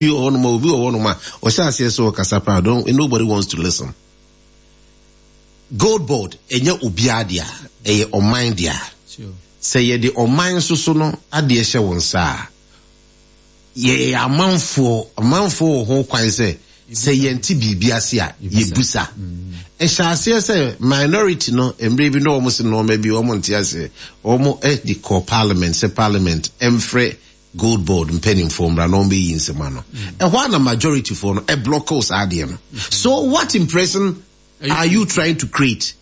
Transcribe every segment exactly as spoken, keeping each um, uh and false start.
Wɔ hɔnom a, obi wɔ hɔnom a ɔhyɛ aseɛ sɛ ɔkasa paa, don't nobody wants to listen. Gold Board ɛnyɛ obiara dea, ɛyɛ ɔman dea. Sɛ yɛde ɔman nso so no adeɛ hyɛ wo nsa a, yɛyɛ amanfoɔ, amanfoɔ wɔ ho kwan sɛ sɛ yɛnte biribi ase a, yɛbusa. Ɛhyɛ aseɛ sɛ minority no, mmerɛ bi na wɔn se nneɛma bi wɔn nte aseɛ, wɔn de kɔ Parliament sɛ Parliament ɛmfrɛ Gold Board mpanimfoɔ mmra na wɔn bɛyi nsɛm ano. Ɛhɔ a na majority foɔ no ɛblock saa adeɛ no. So what impression are you trying to create?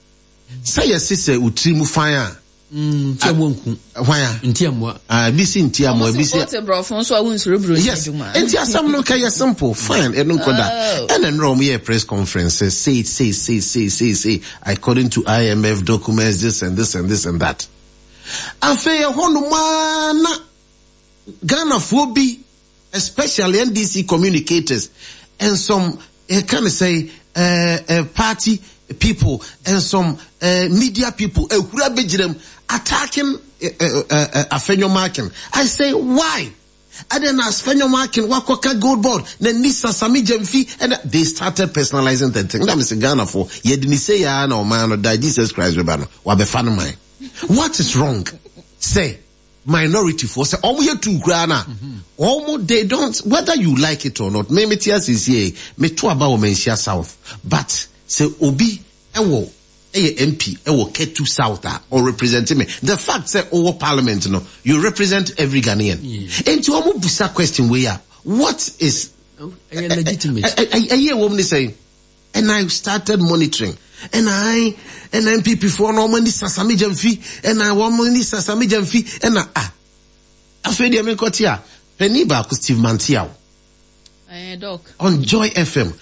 Sɛ yɛse sɛ otiri mu fan a, Nti amoa nku. Hwan a? Nti amoa. Ah, ebi si nti amoa, ebi si. Ɔmo borɔfo nso a wonsuro buroni Yes, adwuma. Nti asɛm no kɛyɛ simple, fine, ɛno nkɔ da. Ɛna nnora ɔmo yɛ press conference sɛ say, say, say, say, say, say, according to I M F documents, this and this and this and that. Afei ɛhɔ nom ara na Ghanafoɔ bi, especially N D C communicators and some ɛka ne sɛ uh, uh, party people and some uh, media people ehura bɛgyina mu attacking uh, uh, uh, Afenyo Markin. I say, why? And then Afenyo Markin wakɔka Gold Board na nisa Sami Gyamfi, and they started personalizing the thing. Na me sɛ Ghanafoɔ yɛde ne sɛ yaa na ɔman no da Jesus Christ bɛba no wabɛfa no man. What is wrong? Sɛ minority foɔ sɛ ɔmo yɛ two koraa na ɔmo, they don't, whether you like it or not. Me me te asiesie me to aba wɔ Manhyia South, but sɛ obi ɛwɔ ɛyɛ M P ɛwɔ Ketu South a, or represent me. The fact sɛ ɔwɔ Parliament no, you represent every Ghanaian. Nti ɔmo busa question wei a, what is ɛyɛ legitimate? Ɛyɛ wɔm ne sɛn? And I started monitoring. And I ɛna N P P foɔ no, ɔmo ani sa Sami Gyamfi, ɛna wɔn ani sa Sami Gyamfi, ɛna ah, afei deɛ menkɔte a, panin baako, Steve Mantiaw Ɛɛ, Doc. on Joy F M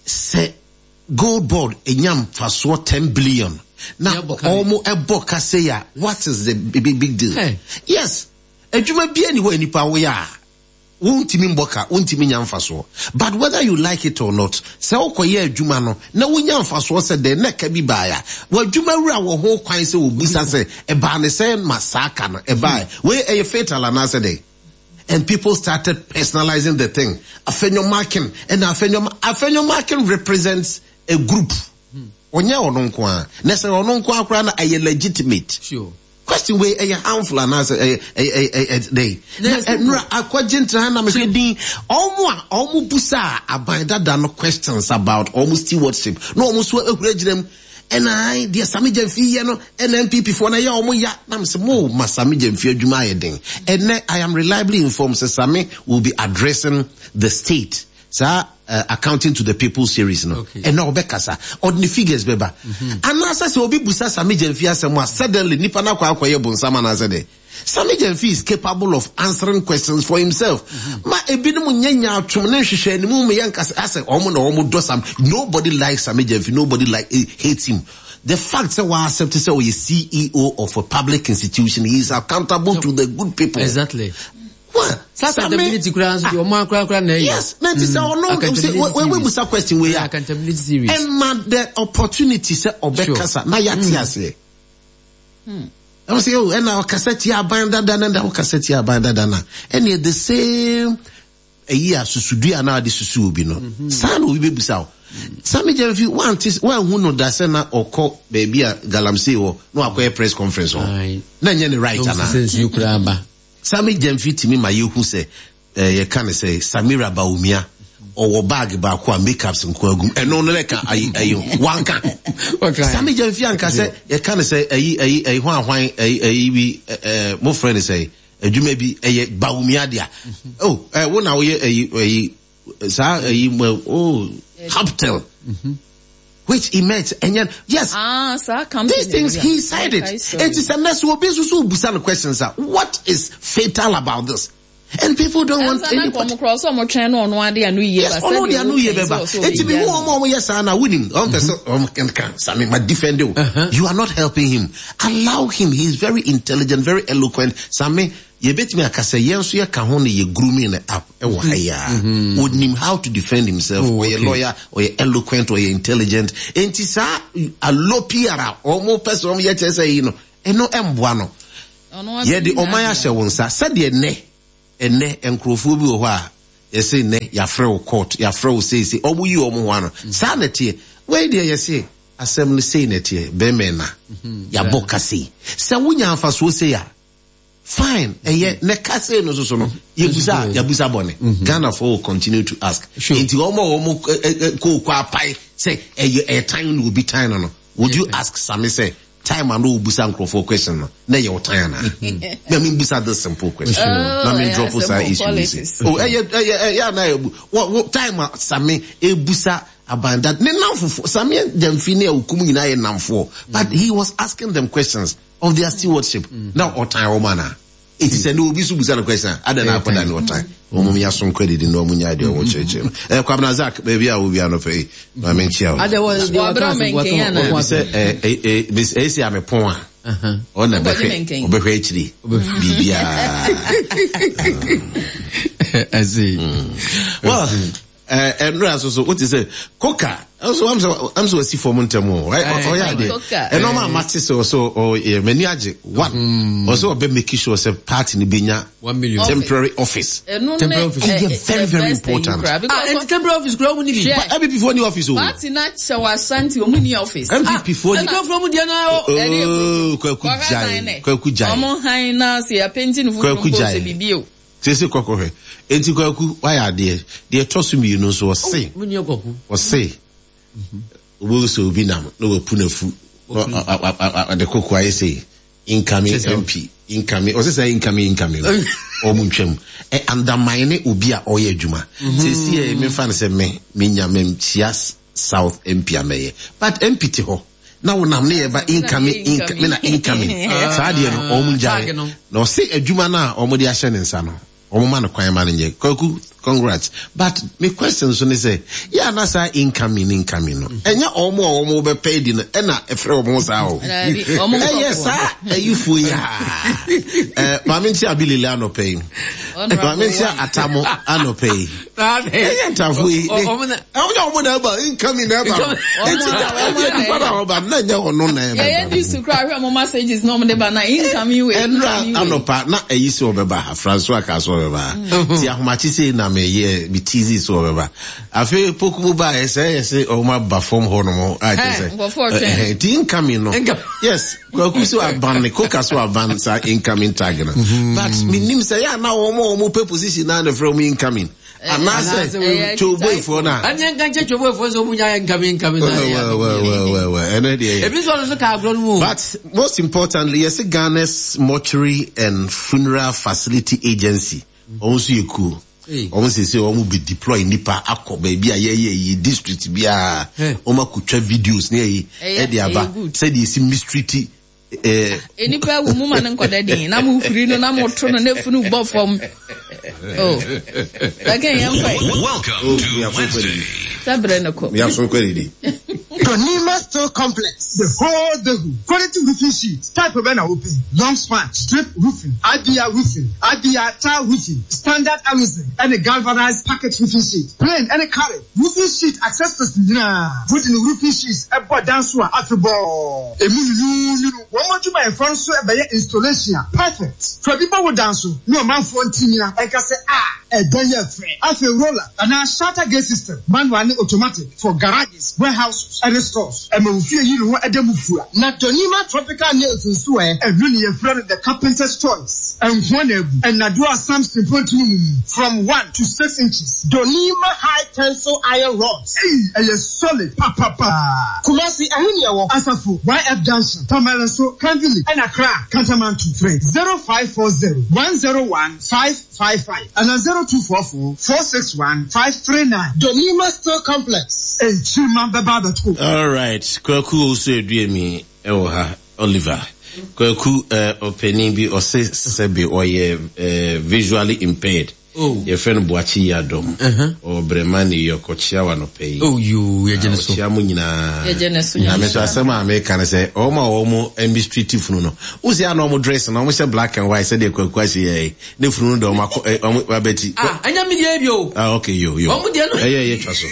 sɛ Gold Board enya mfasoɔ ten billion na Yɛbɔ ka. Ɔmo ɛbɔ kase ya, what is the big big deal? Hey. Yes, adwuma bia ni hɔ a nipa woyɛ a wontumi mbɔ ka, wontumi nya mfasoɔ. But whether you like it or not, sɛ wokɔyɛ adwuma no na wonya mfasoɔ sɛ dɛn na ka bi baeɛ a, w'adwuma wura wɔ ho kwan sɛ wɔbusa sɛ ɛbaa ne sɛ ma saa ka no ɛbaeɛ wei ɛyɛ fatal anaasɛ dɛn. And people started personalizing the thing. Afenyo Markin and Afenyo Afenyo Markin represents a group. Ɔnyɛ ɔno nko a, na sɛ ɔno nko a koraa na ɛyɛ legitimate Sure. question wei ɛyɛ harmful anaasɛ ɛyɛ ɛyɛ ɛyɛ ɛdɛn? Na ɛnura akɔgye ntena na mehwɛ din ɔmo a ɔmo busa a aban dada no questions about ɔmo stewardship na ɔmo nso ehura gyina mu, ɛna ayi deɛ Sami Gyamfi yɛ no, ɛna N P P foɔ na ɛyɛ ɔmo ya, na mo sɛ mo ma Sami Gyamfi adwuma ayɛ den. Ɛnɛ I am reliably informed sɛ Sami will be addressing the state saa uh, Accounting to the People series no. Okay. Ɛna ɔbɛkasa, ɔde ne figures bɛba. Anaasɛ sɛ obi busa Sami Gyamfi asɛm a, suddenly nipa no akɔ akɔyɛ bonsam anaasɛ dɛ? Sami Gyamfi is capable of answering questions for himself. Ma ebinom nyɛ nyaatwom ne nhwehwɛ anim mu yɛ nkasa asɛ ɔmo na ɔmo dɔ Sam. Nobody likes Sami Gyamfi, nobody like eh, hates him. The fact sɛ wa accept sɛ ɔyɛ C E O of a public institution, he is accountable to the good people. Exactly. What? Saa accountability koraa nso deɛ, ɔmo akora koraa na ɛyɛ. Yes, na ti sɛ ɔno Accountability sɛ wei series. busa question wei a, Accountability series. ɛma the opportunity sɛ ɔbɛkasa na yɛate aseɛ. Ɛwɔ sɛ o ɛna ɔkasa tia aban dada na ɛna ɔkasa tia aban dada na ɛnna the same ɛyi a susudua na ɔde susu obi no saa na obi bɛbusa o. Sami Gyamfi wante wanhu no da sɛ na ɔkɔ baabi a galamsey wɔ na wakɔyɛ press conference hɔ Aye. na nyɛ ne right Ɔmo anaa? sɛ nsuo koraa ba. Sami Gyamfi tumi ma yɛhu sɛ ɛɛ yɛka ne sɛ Samira Bawumia ɔwɔ bag baako a makeups nko agum, ɛno no lɛka ayi ayi wanka. Wɔka. Sami Gyamfi anka sɛ yɛka ne sɛ ayi ayi ayi hwan hwan ayi ayi bi ɛɛ mo frɛ ne sɛ adwuma bi ɛyɛ Bawumia dea. Oh, ɛɛ wo na woyɛ ayi ayi saa ayi mo, oh, Hubtel, which he meant ɛnyɛ, yes. Ah, saa company. These things he said it. Okay, so- It is a mess. Obi nso so busa no questions ah. What is fatal about this? And people don't want Ɛnsa na anybody. nkɔmɔ korɔ sɛ ɔmo twɛn no, ɔno ade ano yie Yes, ba. ɔno de ano yie bɛba. Eti mi hu ɔmo a ɔmo yɛ saa na wunim. Ɔmo pɛ sɛ ɔmo kan Sami ma defend o. You are not helping him. Allow him. He is very intelligent, very eloquent. Sami yɛbɛtumi aka sɛ yɛn nso yɛka ho na yɛ grooming no up ɛwɔ ha yi a. Onim how to defend himself. Oh, Ɔyɛ okay. lawyer, ɔyɛ eloquent, ɔyɛ intelligent. Enti saa alopiara ɔmo pɛ sɛ ɔmo yɛ kyerɛ sɛ yi no, ɛno ɛmboa no. Ɔno Yɛde ɔman ahyɛ wo nsa sɛdeɛ nnɛ ɛnnɛ nkurɔfoɔ bi wɔ hɔ a Yɛse nnɛ yɛafrɛ wo court, yɛafrɛ wo seesei, ɔmo yi ɔmo ho ano. Saa na ɛteɛ. Wei deɛ yɛse asɛm no sei na ɛteɛ, bɛrima na yɛabɔ ka sei. Sɛ wonya mfasoɔ sei a, fine, ɛyɛ na ka sei no soso no, yɛbusa a, yɛabusa bɔne. Ghanafoɔ will continue to ask. Sure. Nti ɔmo a ɔmo kooko apae sɛ ɛyɛ ɛyɛ tan na obi tan no no, would you ask Sami sɛ time a na obusa nkurɔfoɔ question no, na ɛyɛ ɔtan anaa? Na mi busa this simple question. Oh, Na mi ɛyɛ drop saa simple issue yi si. politics. Oh, ɛyɛ ɛyɛ ɛyɛ ana ɛyɛ bu. Wɔ wɔ time a Sami ebusa abanda ne namfofo Sami Gyamfi ne Awukum nyinaa yɛ namfoɔ, but he was asking them questions of their stewardship. Na ɔtan wɔn anaa? Eti sɛ ne obi so busa no question a, adan na akɔda ne ɔtan. Wɔn mu yaso nkɔ didi na wɔn nya deɛ wɔn kyerɛkyerɛ no. Ɛ Kwabena Zak, baabi a obi ano pɛ yi, maame nkyia o. Ada wɔ deɛ Wɔabrɛ wɔka asɛm ɔmɛnkɛn wɔka anaa? wɔka Sɛ ɛ ɛ ɛ bes ɛsi amepɔn a, ɔna Wobɛgye bɛhwɛ mɛnkɛn. ɔbɛhwɛ akyiri biribiara. I see. Well, ɛnura so so wote sɛ koka nso am sɛ am sɛ wasi fam ntɛm o ɔyɛ adeɛ Koka. ɛnɔɔma a mate sɛ ɔsɛ ɔyɛ m'ani agye one ɔsɛ ɔbɛ make sure sɛ party no benya One million. temporary office. Ɛno ne Temporary office. ɛ- Ɛyɛ ɛ- very, the very best thing important. koraa, Ah, because nti temporary office kura ɔmu ni bi. Hwɛ. N P P foɔ ni office o. Party na kyɛ wɔ Ashanti ɔmo ni office. N P P foɔ ni. Ɛnti kura mu deɛ na ɔ. Ɛne Oh, Kwaku Kɔka Jai. han nɛ. Kwaku Jai. Ɔmo han na se apenti no Kwaku foforɔ mpo Jai. sɛ bibi o. Sese kɔkɔ hwɛ. Enti Kwaku wayɛ adeɛ. Deɛ ɛtɔ so mmienu nso ɔse. Mu ni ɔkɔku. Ɔse. Obi sɛ obi nam na wapu n'afu. Na ɔ- ɔ- ɔ- ɔde koko ayɛ sɛ incoming Kyerɛ sɛ- M P. Incoming. Ɔse sɛ incoming incoming. Ɔmo ntwam. Ɛ undermine obi a ɔyɛ adwuma. Sese yɛ memfa no sɛ me menya memkyia South M P amɛyɛ. But M P te hɔ. Na wonam ne yɛba incoming, incoming, na incoming. Saa deɛ no, ɔmo ngyae. Tag no. Na ɔse adwuma no a ɔmo de ahyɛ ne nsa no, ɔmo ma no kwan ma no nyɛ. Kwaku, congrats. But me question so ne sɛ, yɛ ana saa incoming, incoming no, ɛnyɛ ɔmo a ɔmo bɛpɛ di no, ɛna ɛfrɛ ɔmo saa o. Daabi, ɔmo Ɛyɛ nkɔfoɔ. saa ayifoɔ yi a. Eh, maame nkyia Abilile anɔpɛ yi. Honorable Maame nkyia one. Atamo anɔpɛ yi. Ɛyɛ ntafo yi. Ɔmo na. Ɔmo nyɛ ɔmo na ɛba, incoming na ɛba. Incoming. Eti Ɔmo na- ɛdeɛ nipa na ɔba, na ɛnyɛ ɔno na ɛba. Yɛyɛ di su koraa hwɛ ɔmo messages na ɔmo de ba na incoming wei, Ɛnura incoming wei. anɔpa na ɛyi sɛ ɔbɛba ha, Francois ka sɛ ɔbɛba ha. Ti ahomakye sei na meyɛ, me tease sɛ ɔbɛba. Afei poku mu ba ɛsɛ ɛyɛ sɛ ɔmo aba fam hɔ nom, a kyerɛ sɛ, Nkurɔfoɔ twɛn. ɛhɛn, ti incoming no. Incoming. Yes, Kwaku so aban ne, Koka so aban saa incoming tag no. But menim sɛ yɛ ana wɔn a wɔn pɛ position na na frɛ wɔn incoming. Anaasɛ Ɛyɛ Twoboyfoɔ no a. Ɛni nka nkyɛn Twoboyfoɔ sɛ ɔmu nya incoming, incoming na Well, yɛ. well, well, well, well, well. Ɛno deɛ yɛ. Ebi nso ɔno nso ka agorɔ no mu o. But most importantly, yes, Ghana's Mortuary and Funeral Facility Agency. Ɔmo nso yɛ cool. Hey. Ɔmo sɛ sɛ ɔmo be deploy nipa akɔ baabi a yɛyɛ yi district biara. Hey. Ɔmo akotwa videos ne ɛyi Ɛyɛ, ɛde aba. ɛyɛ good. Sɛdeɛ esi mistreat, eh, Enipa ewu mu ma ne nkɔda din na mo huri no na mo to no na efunu bɔ fam. Oh. Again, yɛn kɔ. Welcome Oh, to we are so Wednesday. ready. Sɛbrɛ no kɔ. We are so ready. Donima Steel Complex, the whole the quality roofing sheet, type of an open, long span, strip roofing, I B R roofing, I B R tile roofing, standard Amazon, and a galvanized packet roofing sheet, plain and a carry, roofing sheet accessories, nah, put in roofing sheets, a board dance after ball, a moon, one more to my front so a installation, perfect. For people who dance, no man for Tina, and can say, ah, a day free, as a roller, and a shutter gate system, manual and automatic for garages, warehouses, and stores. And we fear you know a demo for not Donima tropical nails and swear, and really in front of the carpenter's choice. And one and Nadua Samson from one to six inches. Donima high tensile iron rods. Hey, a solid pa pa pa. Kumasi Ahuniawo Asafo Y F Junction, Tamale Kanvili, and Accra, Kantamantu. Three zero five four zero one zero one five five five and a zero two four four four six one five three nine. Donima Steel Complex. And Chima Baba two. All right. Kwaku also Eduemi Ewoha Oliver. Kwaku eh opening bi ose sebe oye eh visually impaired. Oh. Your friend Boachi Yadom. Uh-huh. Or Bremani yokochia wa no pay. Oh, you, ye jeneso. Ochia mu nyina. Ye jeneso. Na me so asem a me ka say o ma o mo mistreat funu no. Wo se ana o mo dress na o mo say black and white say de Kwaku ahye ye. Ne funu no de o ma o mo abeti. Ah, anya me de bi o. Ah, okay, yo yo. O mo de no. Eh, ye ye twa so.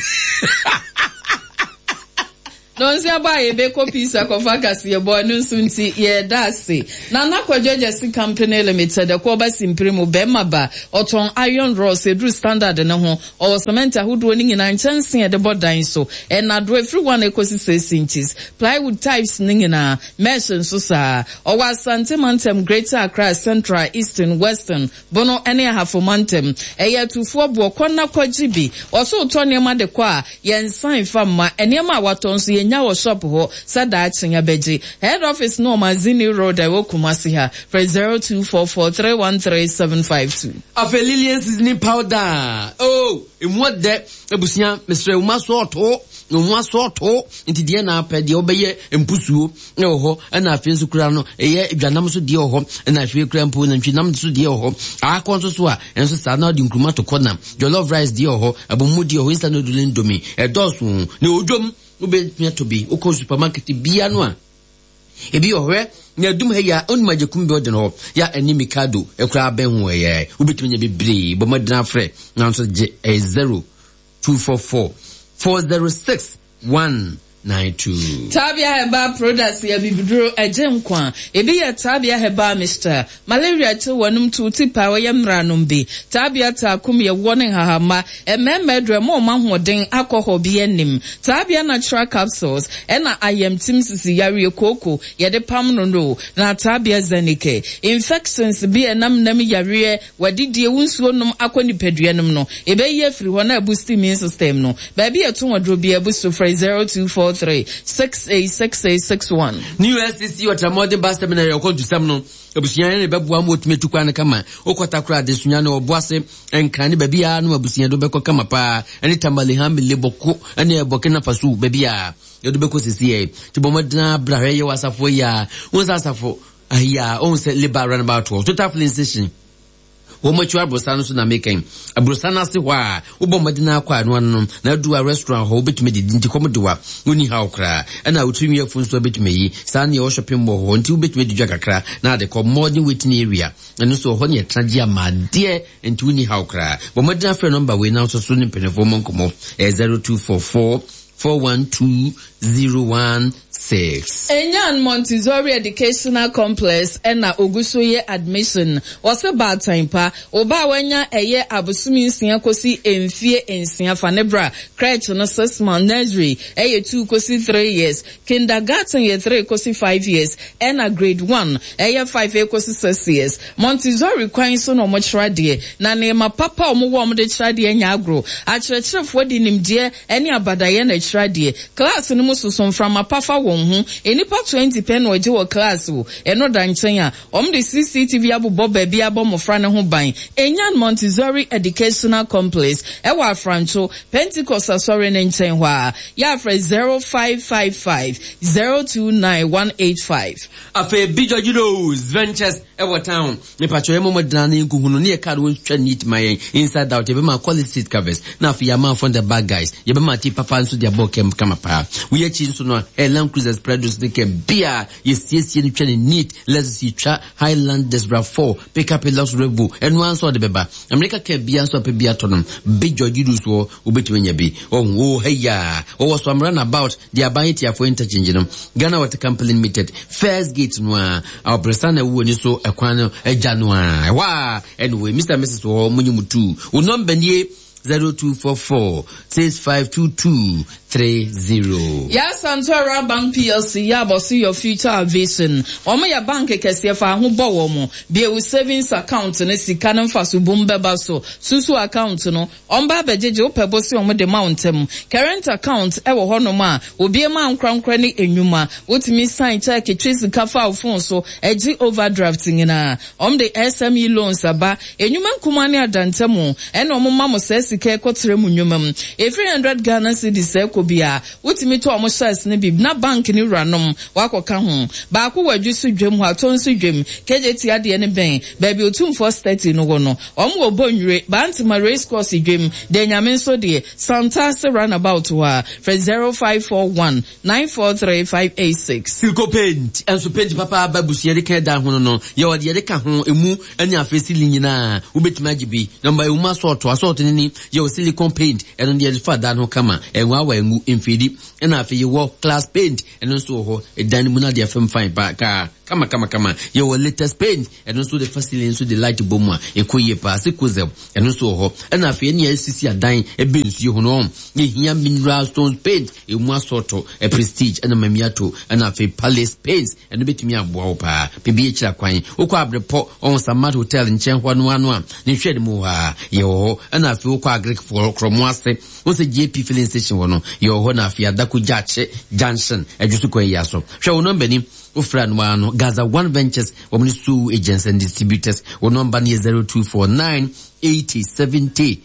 Nonsi aba a yɛbɛkɔ peace akɔfa kaseɛ bɔ ɛno nso nti yɛda ase. Nana Kwadwo Agyasi Company Limited ɛkɔ ɔba simpiri mu bɛrima ba ɔtɔn iron rods eduru standard ne ho ɔwɔ cement ahodoɔ ne nyinaa nkyɛnsee a yɛde bɔ dan so ɛnadoɔ efiri one ekosi six inches plywood types ne nyinaa mesh nso saa ɔwɔ Asante Mantam Greater Accra Central Eastern Western Bono ne Ahafo Mantam ɛyɛ atufoɔ boɔ kɔ na kɔgye bi ɔso tɔ nneɛma de kɔ a yɛnsan fa mma nneɛma a watɔ nso yɛnya wɔ shop hɔ sɛ daakye yɛbɛgye head office no Ɔmazini Road a ɛwɔ Kumasi ha frɛ zero two four four three one three seven five two. Afei Lilian seasoning powder oh emu ɔdɛ abusua mesrɛ wo ma so ɔto na ɔmo aso ɔto nti deɛ na apɛ deɛ ɔbɛyɛ mpusuo na wɔ hɔ ɛna afei nso kura no ɛyɛ dwanam so deɛ wɔ hɔ ɛna afei kura mpo nantwinam so deɛ wɔ hɔ akɔ nso so a ɛnso saa na ɔde nkuruma to kɔ nam jollof rice deɛ wɔ hɔ abomu deɛ wɔ hɔ instant noodle indomie ɛdɔɔso na odwom wobɛtumi atɔ bi wokɔ supermarket bia no a ebi wɔ hɔ na adum ha yi a onum agyekum bi ɔgyina hɔ ya ɛne mikado ɛkura abɛn ho ɛyɛ wobɛtumi anya bebree bɔ mmɔden afrɛ nanso gye ɛyɛ zero two four four four zero six one nine two. Tabia Herbal Products yɛ bibiduro ɛgye nkwa. Ebi yɛ Tabia Herbal Mixture. Malaria kye wɔnum tu ti pa ɔyɛ mmeranom bi. Tabia Taakum yɛ wɔ ne nhahama. Mmarima aduro ɛma ɔmo ahoɔden akɔ bi anim. Tabia Natural Capsules ɛna ayamtim sisi yareɛ kooko yɛde pam no no. Na Tabia Zenike. Infections bi ɛnam nam yareɛ wadidie wo nsuo nom akɔ nipadua nom no. Ɛbɛyi afiri hɔ na ɛboost immune system no. Baabi ɛto aduro bi ɛbu so frɛ zero two four three six eight six eight six one. New S C ɔtramɔden bus terminal yɛ ɔkɔ ntusɛm no abusua ne bɛboa ma wɔtumi atu kwan no kama wokɔta kora adesua no ɔbo ase nkran ne baabi a no abusua do bɛkɔ kama paa ɛne Tamale, Hamile, Bɔko ɛne Burkina Faso baabi a yɛde bɛkɔ sisi yɛ nti bɔ mmɔden abra hwɛ yɛ wɔ asafo yi a wɔn sɛ asafo ayi a wɔn sɛ labour roundabout hɔ Total filling station wɔn akyi aborosa no so na mekɛn aborosa no ase hɔ a wobɔ mmɔden akɔ ano ano no na adu a restaurant hɔ wobɛtumi didi nti kɔm de wa wonni haw koraa ɛna wotiri nwiafo nso wobɛtumi ayi saa ne ɛwɔ shopping mall hɔ nti wobɛtumi adi dwa kakra na ade kɔ modern waiting area ɛno nso hɔ ne yɛtena gye ama adeɛ nti wonni haw koraa bɔ mmɔden afrɛ number wei na nso so ne mpanimfoɔ mmɔ nkɔmmɔ ɛyɛ zero two four four four one two zero one six. Enyan Montessori Educational Complex ɛna ogu so yɛ admission. Wɔsɛ baatan pa ɔbaa wanya ɛyɛ abosomi nsia kosi mfie nsia fa ne bra. Crèche no six months, nursery ɛyɛ two kosi three years, kindergarten yɛ three kosi five years, ɛna grade one ɛyɛ five kosi six years. Montessori kwan so na wɔn kyerɛ adeɛ na nneɛma papa a wɔn wɔ wɔn de kyerɛ adeɛ nya agorɔ. Akyerɛkyerɛfoɔ de nimdeɛ ɛne abadayɛ na ɛkyerɛ adeɛ. Class no mu soso mframa pa fa wɔn ho. Nnipa twenty pɛ na ɔgye wɔ class o. Ɛno da nkyɛn a wɔn de C C T V abobɔ baabi abɔ mmɔfra no ho ban. Enyan Montessori Educational Complex ɛwɔ Afrancho Pentecost asɔre ne nkyɛn hɔ a yɛafrɛ zero five five five zero two nine one eight five. Afei bi George Rose Ventures ɛwɔ town mepatwɛ yɛ mɔmɔdena ne nkuhu no ne yɛ car no wɔntwa neat ma yɛn inside out. Yɛbɛma quality seat covers na afei yɛama front the back guys yɛbɛma ti papa nso de abɔ kɛm kama paa. Woyɛ akyi nso no a Land Cruisers, Prados ne kɛm bia yɛsiesie no twa ne neat. Lexus yɛtwa, Highlanders, RAV four, pickup, Hilux, Revo ɛno ara nso ɔde bɛba Amerika kaa bia nso apɛ bi atɔ no big George Rose wɔ wobɛtumi anya bi ɔhu o ha wɔwɔ so amra about de aban etiafoɔ interchange no Ghana Water Company Limited first gate no a ɔbrɛsa na ɛwɔ ni so ɛkwan no agya no a ɛhɔ a. Anyway, Mister and Missus wɔ hɔ mo nye mu tu wo number nie zero two four four six five two two three zero. Yɛasanto Bank P L C yɛ abɔso your future vision. Wɔn yɛ bank kɛseɛ fa ho bɔ wɔn bie wo savings account no sika no mfa so bom bɛba so susu account no ɔmba abɛgyegye wopɛ bo se ɔmo de ma wo ntɛm. Current account ɛwɔ hɔnom a obie ma nkorankora ne enwuma wotumi sign check twe sika fa wo phone so ɛgye overdraft nyinaa. Ɔmo de S M E loans aba enwuma nkuma ne adantamu ɛna ɔmo ma mo sɛ sika ɛkɔtara mu nnwuma mu efiri hundred Ghana cedis ɛkɔ bia wotumi tɔ ɔmo shares ne bi na bank ne wuranom wakɔka ho baako wɔ adwi so dwam hɔ atɔ nso dwam kegye ti adeɛ ne bɛn baabi Otumfoɔ statue no wɔ no. Ɔmo wɔ Bɔnwire Bantama race course dwam de Nyame nso deɛ Santase roundabout hɔ a frɛ zero five four one nine four three five eight six. Silco paint ɛnso paint papa aba busua de kan da ho no no yɛwɔ deɛ yɛde ka ho emu ɛne afei ceiling nyinaa wobɛtumi agye bi namba emu asɔɔto asɔɔto ne ni Yɛwɔ silicone paint, ɛno deɛ yɛde fa dan ho kama, ɛnwaawa ngu mfidi. Ɛna afei yɛwɔ glass paint, ɛno nso wɔ hɔ, ɛdan no mu na deɛ fam fine pa kaa kama kama kama. Yɛwɔ latest paint, ɛno nso de fa ceiling nso de light bɔ mu a ɛkɔ yie paa. Sikozel, ɛno nso wɔ hɔ. Ɛna afei ɛne yɛsisi adan ɛbɛ nsuo ho no, yɛhia mineral stones paint, ɛmu asɔɔtɔ, ɛ Prestige ɛna Mamiato, ɛna afei Palace Paints, ɛno bɛtumi aboa wo paa. Biribi akyira kwan, wokɔ Abrepɔ ɔho Samad Hotel nkyɛn hɔ no ano a ne nhwɛ ne mu hɔ a yɛwɔ hɔ. Ɛna afei wokɔ Agric Korɔmo ase, wo sɛ J P filling station hɔ no yɛwɔ hɔ. Na afei Adako Gyaakye Junction adwo so kwan yi aso. Hwɛ wo nɔmba ni, wofrɛ no ara no Gaza One Ventures, wɔn ne sole agents and distributors. Wo nɔmba no yɛ zero two four nine eighty seventy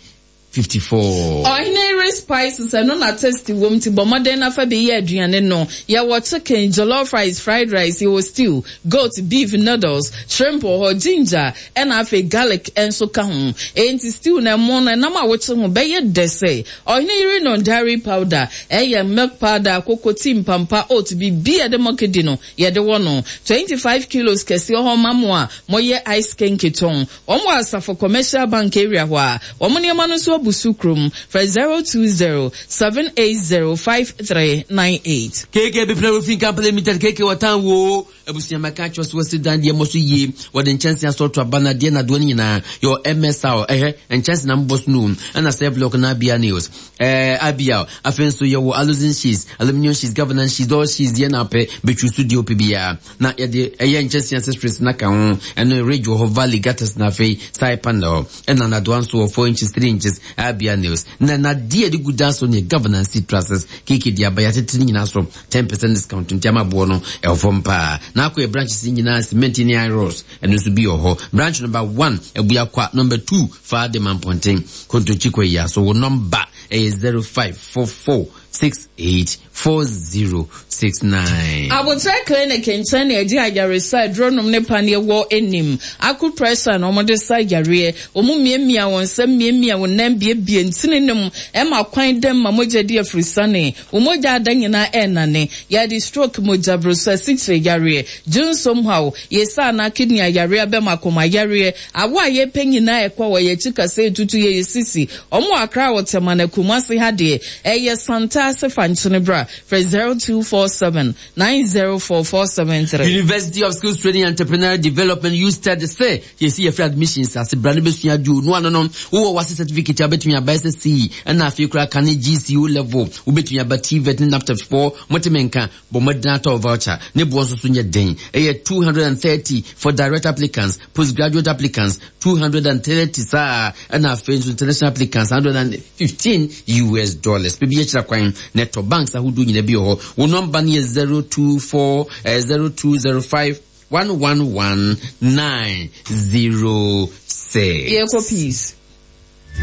fifty-four. Ɔhene Yere Spices, ɛno na taste wom, ti bɔ mmɔden nafa bi yɛ aduane no. Yɛwɔ chicken, jollof rice, fried rice, yɛwɔ stew, goat, beef, noodles, shrimp wɔ hɔ, ginger ɛna afei garlic nso ka ho. Enti stew na ɛmo no ɛnam a wokye ho bɛyɛ dɛ sɛ Ɔhene Yere no. Dairy powder, ɛyɛ milk powder, koko tea, mpampa, oat, biribi a yɛde mɔkedi no yɛde wɔ no twenty-five kilos kɛseɛ hɔ ma mo a moyɛ ice kenkey tɔn. Wɔn wɔ Asafo Commercial Bank area hɔ a wɔn nneɛma no nso abu so kurom. Frɛ zero two zero seven eight zero five three nine eight. K K Bepra Roofing Company Limited, K K wɔtan wo abusua mɛka kyerɛ so wɔsi dan deɛ mmɔ so yie. Wɔde nkyɛnse asɔɔto aba na deɛ nadoɔ no nyinaa yɛwɔ M S R, ɛhɛ nkyɛnse na mbɔ so no, ɛna sɛ block na abia nails ɛɛ abia. Afei nso yɛwɔ aluzinc sheets, aluminium sheets, governance sheets, all sheets deɛ na apɛ bɛtwi so deɛ ɔpɛ biara na yɛde ɛyɛ nkyɛnse accessories na ka ho. Ɛno ridge wɔ hɔ, valley gutters, na afei side panel, ɛna nadoa nso wɔ four inches, three inches, abia nails na nadeɛ yɛde gu dan so ne governance seat trusses. Keke de aba yɛatete ne nyinaa so ten percent discount, nti ama boɔ no ɛwɔ fam paa. Na akɔ yɛ branches nyinaa, cement ne iron rods ɛno nso bi wɔ hɔ. Branch number one Abuakwa, number two Faade Mampɔnten Kontonkyi kɔ yi so. Wo number ɛyɛ zero five four four six eight four zero six nine. Abotire Clinic nkyɛn na yɛgye ayaresa aduro nom ne paneɛ wɔ anim. Acupressure na wɔde sa yareɛ. Wɔn mmiamia wɔn nsa, mmiamia wɔn nan, biebie ntini nom ɛma kwan dɛm ma mogya di afirisane. Wɔn mogya ada nyinaa ɛnane. Yɛde stroke, mogya broso, asikyire yareɛ, dwonsom haw, yɛsa anaa kidney ayareɛ, bɛma akoma yareɛ, awo a yɛpɛ nyinaa ɛkɔ wɔ yɛkyi kasa etutu yɛ yɛ sisi. Wɔn wɔ Akra, wɔ Tɛma na Kumasi ha deɛ ɛyɛ Santase Fankyene bra. Frɛ zero two four seven nine zero four four seven three. University of Skills Training and Entrepreneurial Development, USTED, sɛ yɛsi yɛfrɛ admissions ase, bra no bɛsua adeɛ no ano no. Wowɔ WASSCE certificate a wobɛtumi aba, S S C, ɛna afei koraa ka ne G C E level wobɛtumi aba, TVET ne NABTEB foɔ moteme nka. Bɔ mmɔden atɔ voucher ne boɔ nso so nyɛ den, ɛyɛ two hundred and thirty for direct applicants, postgraduate applicants two hundred and thirty saa, ɛna afei nso international applicants one hundred and fifteen U S dollars. Baabi yɛkyerɛ kwan na ɛtɔ banks ahodoɔ nyina bi wɔ hɔ. Wo nɔmba no yɛ zero two four eh, zero two zero five one one one nine zero six. Yɛkɔ peace.